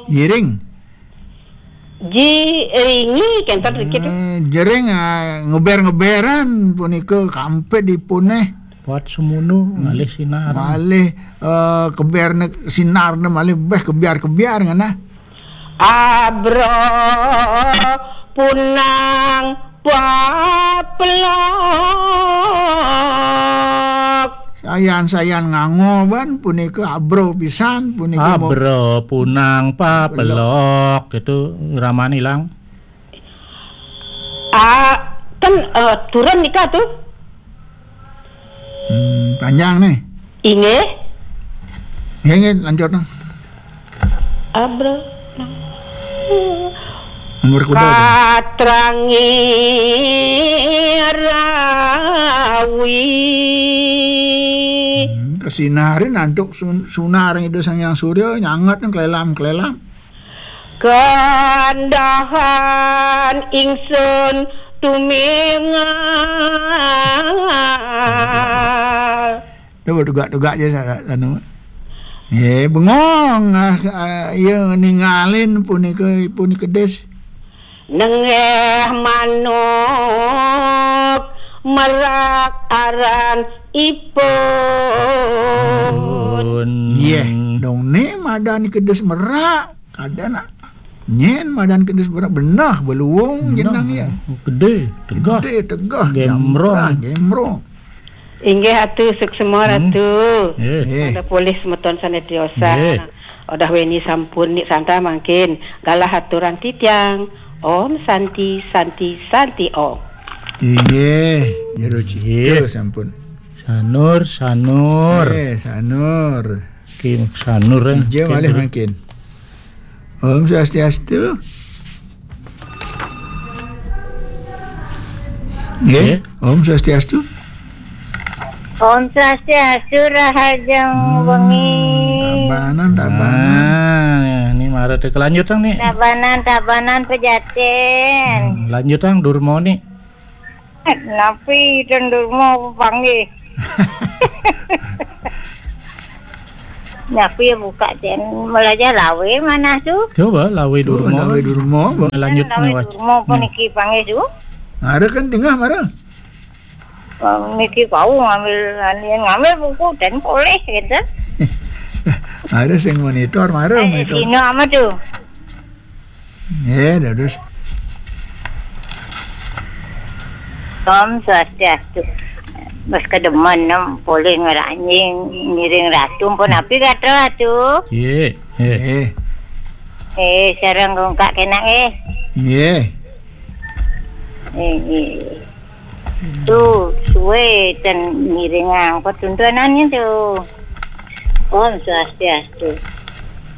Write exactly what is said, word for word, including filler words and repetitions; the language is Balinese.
Jiring. Jiringi, kenten dikit. Eh, jering, ah, ngeber-ngeberan punika kampid ipun, eh. Buat semunu, hmm, malih sinar. Malih, eh, keber ne, sinar ne malih beh kebiar-kebiar ngenah. Abra punang paplok. Sayan-sayan ngango ban punika abra pisan, punika mo- Abra punang paplok, itu raman ilang. Ah, kan, eh, turun nika tuh. Hmm, panjang nih. Inggih. Nggih, nggih, lanjut, nah. Abra. Nomor kuda tuh. Katrangi rawi. Hmm, kasinarin antuk sun-, sunar Ida Sang Hyang Surya nyanget nang klelam-klelam. Kandahan ingsun tumingal. Coba tugak-tugak aja sa-, sa-, anu. Eh, bengong, ah, ah, iya ningalin punika, punika des. Nenggeh manuk merak aran ipun. Pun. Iya, dong ne madan kedes merak. Kada nak. Nyen madan kedes merak benah beluung jenang ya. Gede, tegah. Gede, tegah, gemrong. Jambrah, gemrong. Inggih Ratu, suksema, hmm, Ratu. Eh. Eh. Pada polih semeton sane tiosan. Eh. Odah weni sampun nik santa mangkin. Galah aturan titiang. Om Santi, Santi, Santi Om. Inggih, jero cita, inggih, sampun. Sanur, Sanur. Eh, Sanur. Kim Sanur, eh. Ija malih mangkin. Om Swastiastu. Nggih, nggih. Om Swastiastu. Om Swastiastu, rahajeng, hmm, wengi. Tabanan, tabanan. Nah, ini mara teh kelanjutan nih. Tabanan, tabanan pejaten. Hmm, lanjutan Durma nih. Napi ten Durma panggih? Napi ya buka ten belajar lawe mana tu? Coba lawe, oh, Durma. Lawe Durma, apa? Lanjut lawe nih, Wak. Durma apa, hmm, niki panggih tu? Ada kan tengah mara. Oh, niki kau ngambil, ngambil buku dan boleh gitu. Ada sing monitor, mara eh, monitor. Sino ama tu? Nggih, dados. Om Swastiastu. Mas kedemen nem polih ngeranjing ngiring ratu pun api gatra tu. Nggih, nggih. Nggih. Eh, sareng rungkak kena, eh. Nggih. Eh, eh. Tu, suwe ten ngiringang petuntunannya tu. Om Swastiastu.